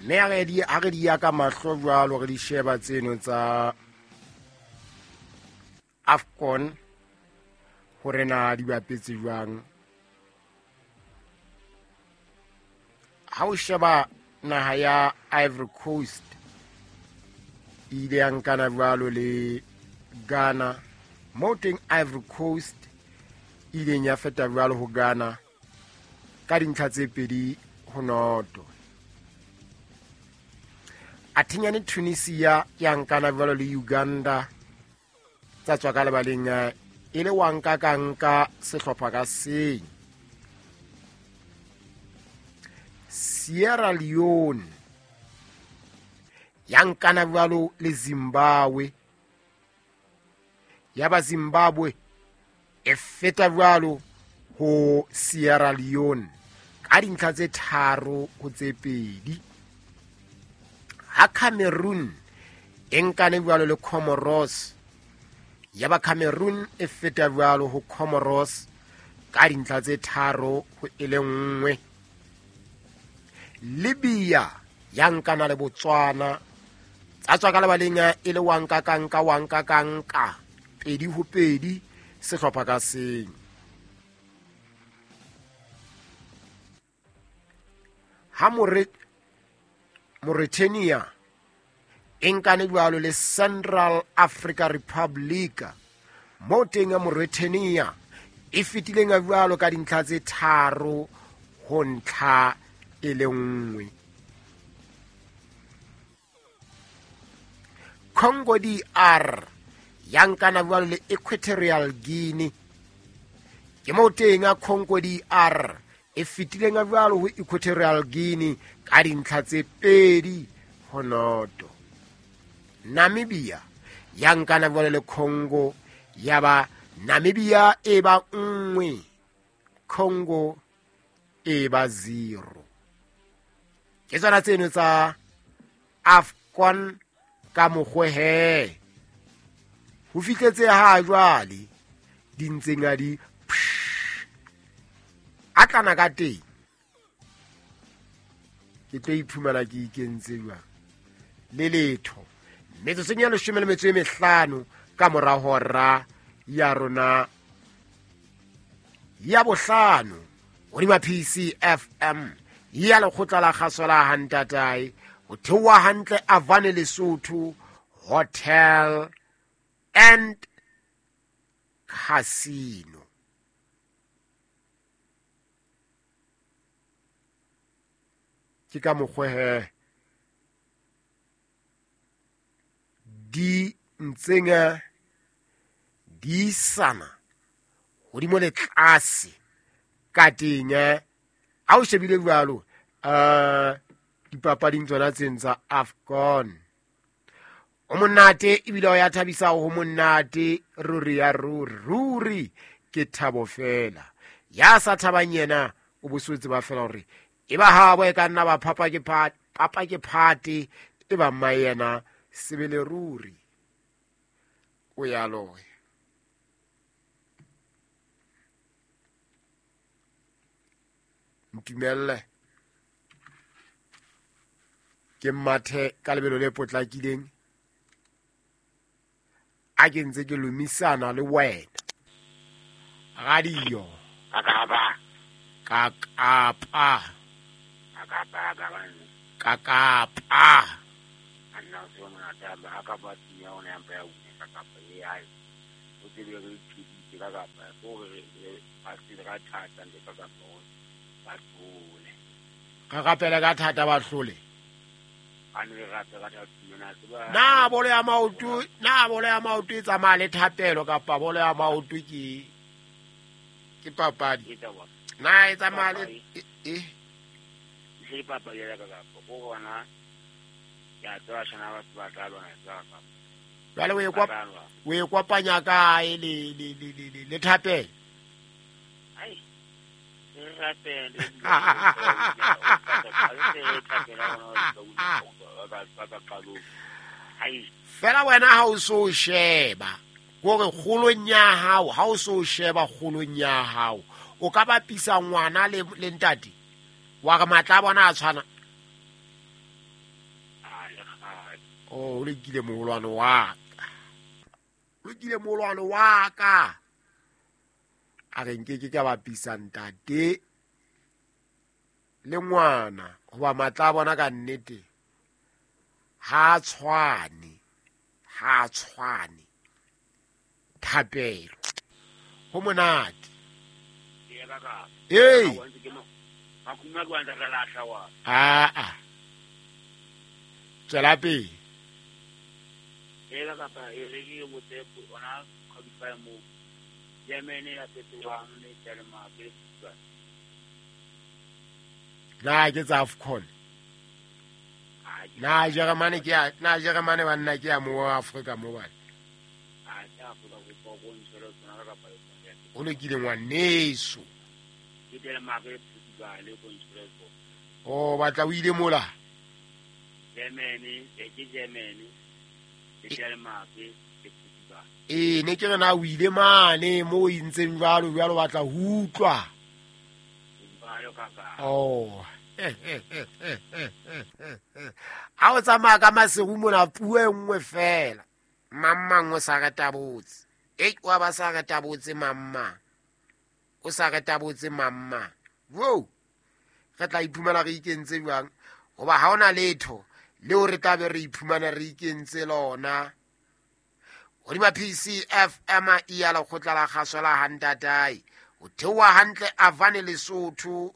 Mme ha re di ya ka mahlo jwalo, re di sheba tseno tsa AFCON hore na di bapetse jwang. Ha o sheba naha ya Ivory Coast e ile ya nkana jwalo le Ghana, moo teng Ivory Coast e ileng ya feta jwalo ho Ghana ka dintlha tse 2-0. Athenyane Tunisia ya nkana jwalo le Uganda, tsa tswa ka lebaleng e le wa nka ka nka sehlopha ka seng. Sierra Leone ya nkana jwalo le Zimbabwe, ya ba Zimbabwe e feta jwalo ho Sierra Leone ka dintlha tse 3-2. Ha Cameroon e nkane jwalo le Comoros, ya ba Cameroon e feta jwalo ho Comoros ka dintlha tse 3-1. Libya ya nkana le Botswana, tsa tswa ka lebaleng e le wa nka ka nka, wa nka ka nka, 2-2 sehlopha ka seng. Ha Mauritania e nkane jwalo le Central Africa Republic, moo teng ya Mauritania e fetileng jwalo ka dintlha tse 3-1. Congo DR ya nkana jwalo le Equatorial Guinea, ke moo teng ya Congo DR e fetileng jwalo ho Equatorial Guinea ka dintlha tse 2-0. Namibia ya nkana jwalo le Congo, ya ba Namibia e ba 1, Congo e ba 0. Ke tsona tseno tsa AFCON ka mokgwe he. Ho fihletse ha jwale di ntseng a di a tlana ka teng. Ke tlo iphumana ke ikentse jwang le letho. Metsotsong ya 15 ka mora hora ya rona ya bohlano hodima PCFM ya lekgotla la kgaso la Hantatae, ho theoha hantle Avane Lesotho Hotel and Casino. Ke ka mokgwa he di ntseng di isana hodimo le tlase ka teng. Ha o shebile jwalo, dipapading tsona tseng tsa AFCON, o monate ebile o ya thabisa ho monate ruri ya ruri, ruri ke thabo fela. Ya sa thabang yena o bosotse ba fela hore e ba habo e ka nna ba phapa ke papa ke phate, e ba mma yena sebele ruri o ya loya. Ntumelle ke mathe ka lebelo le potlakileng a ke ntse ke lomisana le wena. Radio Kakapa. Kakapa. Kakapa. Kakapa. Anna o se monate a ka ba tiya ona ya mpa ya kakapa e ai. O tsebe re thuditse kakapa o re ba se ka thata le kakapa o ba hlole. Ka rapela ka thata ba hlole. A ne re rapela ka thata mona tseba. Na bolo ya maoto, na bolo ya maoto e tsamaya le thapelo kapa bolo ya maoto ke papadi? Na e tsamaya le e ke papadi ya kakapa o bona ya tswa shana ba ba tla lwana tsa kakapa. Jwale o e kopanya kae le le le le le thapelo? Ai re rapele fela wena ha o so sheba gore kgolong ya hao, ha o so sheba kgolong ya hao o ka bapisa ngwana le ntate wa re matla a bona a tshwana. O o lokile moholwane wa ka, lokile moholwane wa ka. A re nkeke ka bapisa ntate le ngwana hoba matla a bona ka nnete ha a tshwane, ha a tshwane. Thapelo ho monate. Ee ka kapa. Ee. Makhuma ke wa ntse re lahla wa. Aa, tswela pele. Ee ka kapa e re ke botse ona qualify mo. Germany ya fetohang le Denmark le Portugal. Na ke tsa AFCON? Ha ke Na Germany ke ya, na Germany banna ke ya mo wa Afrika mo bana. Ha ke Afrika kopa go ntshwele tsona ka kapa le tsona. O lokile ngwaneso. Ke Denmark le Portugal go ntshwele tsona. O batla o ile mola. Germany, e ke Germany le Denmark le Portugal. Ee, ne ke re na o ile mane mo o entseng jwalo jwalo, batla ho utlwa. Jwalo ka ka. Oh. Ha o tsamaya ka maseru mona puo e nngwe fela. Mang mang o sa re tabotse. Ei, wa ba sa re tabotse mang mang. O sa re tabotse mang mang. Wo! Re tla iphumana re ikentse jwang? Hoba ha hona letho leo re tla be re iphumana re ikentse lona. Hodima PCFM e ya lekgotla la kgaso la Hantatai. O theoha hantle Avane Lesotho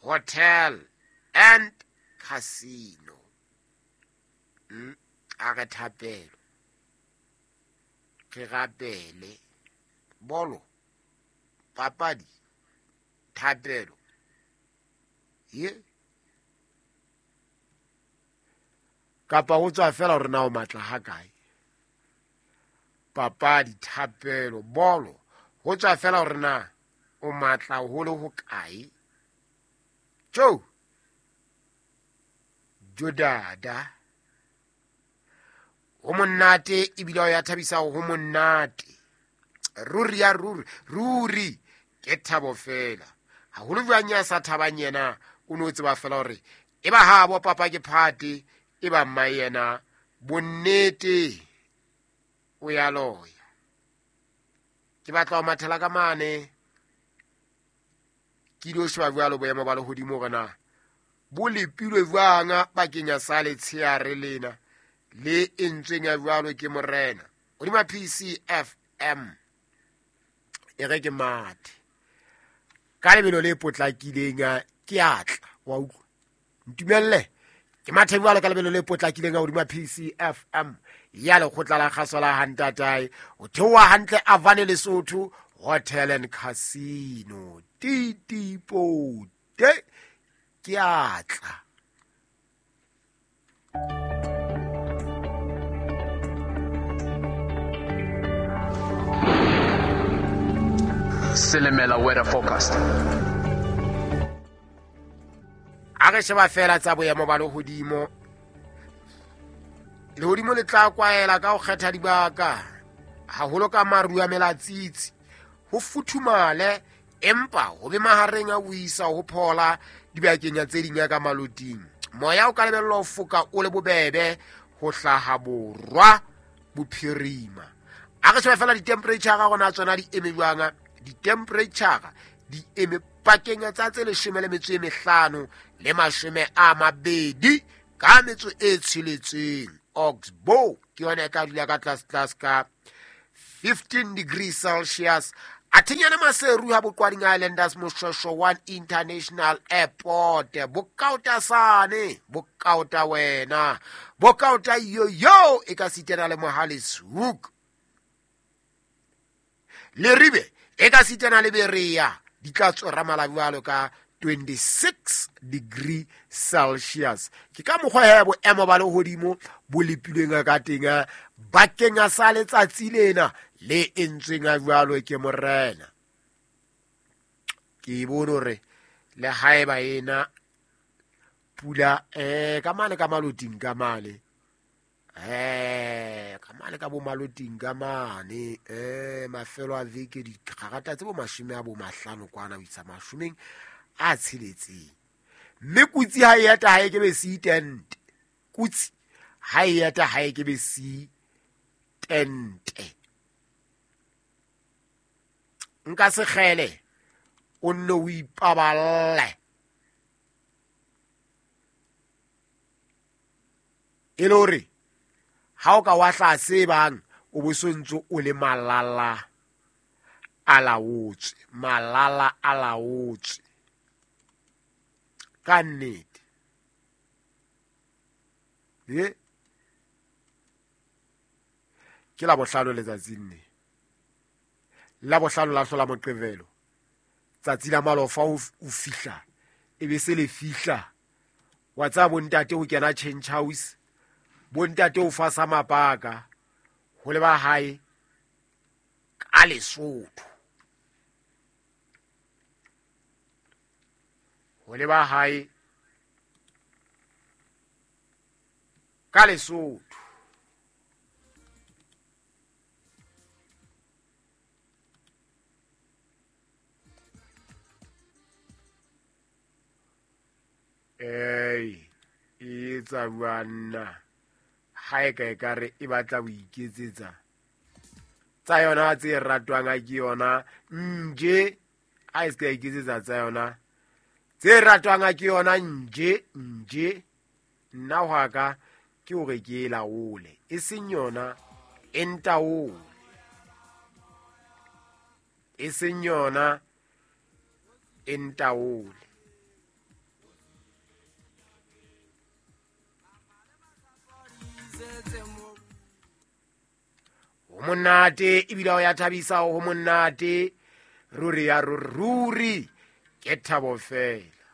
Hotel and Casino. A re thapelo. Re rapele. Bolo. Papadi. Thapelo. Ye. Kapa ho tswa fela hore na o matla ha kae. Papadi, thapelo, bolo. Ho tswa fela hore na o matla ho le ho kae. Jo. Jo dada. Ho monate ebile o ya thabisa ho monate. Ruri ya ruri, ruri ke thabo fela. Haholo jwang ya sa thabang yena, o no tseba fela hore e ba ha bo papa ke phate, e ba mma yena bonnete o ya loya. Ke batla ho mathela ka mane. Ke ilo sheba jwalo boemo ba lehodimo hore na bo lepilwe jwang bakeng ya sa letsheare lena le entsweng ya jwalo ke morena. Hodima PCFM e re ke mathe ka lebelo le potlakileng, ke atla wa utlwa. Ntumelle ke mathe jwalo ka lebelo le potlakileng hodima PCFM ya lekgotla la kgaso la Hantatai. O theoha hantle Avane Lesotho Hotel and Casino. Titipote ke atla. Silimela weather forecast. A re sheba fela tsa boemo ba lehodimo. Lehodimo le tla kwaela ka ho kgetha dibaka, haholo ka maru a melatsitsi. Ho futhumale empa ho be mahareng a ho isa ho phola dibakeng tse ding ka maloting. Moya o ka lebellwa ho foka o le bobebe ho hlaha borwa bophirima. A re sheba fela di-temperature ga rona tsona di eme jwang. Di-temperature di eme pakeng tsa tse 15 le 20 ka metso e tsheletseng. Oxbow ke yona e tla dula ka tlase tlase ka 15 degrees Celsius. Athinyana Maseru ha Boqwading Islanders Moshweshwe 1 International Airport. Bokaota sane, bokaota wena, bokaota yo e ka sitana le Mohale's Hoek. Leribe e ka sitana le Berea di tla tswera mala jwalo ka 26 degree Celsius. Ke ka mokgwa he boemo ba lehodimo bo lepilweng ka teng bakeng sa letsatsi lena le entsweng jwalo ke morena. Ke bone hore le haeba ena pula ka mane ka maloting ka mane, ka mane ka bo maloting ka mane, mafelo a veke dikarata tse bo 50 kwana ho isa 60. Mme kutsi ha e eta ha e ke be se itente. Kutsi Ha e eta ha e ke be si tente. Nka sekgele o nne o ipaballe. E le hore ha o ka wa hlaha se bang o bo sontso o le malala a laotswe, malala a laotswe. Ka nnete. Ye ke la bohlano letsatsing le. La bohlano la hlola Moqebelo. Tsatsi la malofa o fihla e be se le fihla. Wa tsaya bontate ho kena change house. Bontate o fasa mapaka ho leba hae ka Lesotho. Ho leba hae ka Lesotho. Ei, e etsa banna ha e ka e ka re e batla ho iketsetsa tsa yona tse ratwang a ke yona nje ha e se ka iketsetsa tsa yona tse ratwang a ke yona nje nje nna hwa ka ke hore ke e laole e seng yona e ntaole e seng yona e ntaole. Ho monate ebile ho ya thabisa, ho monate ruri ya ruri ke thabo fela.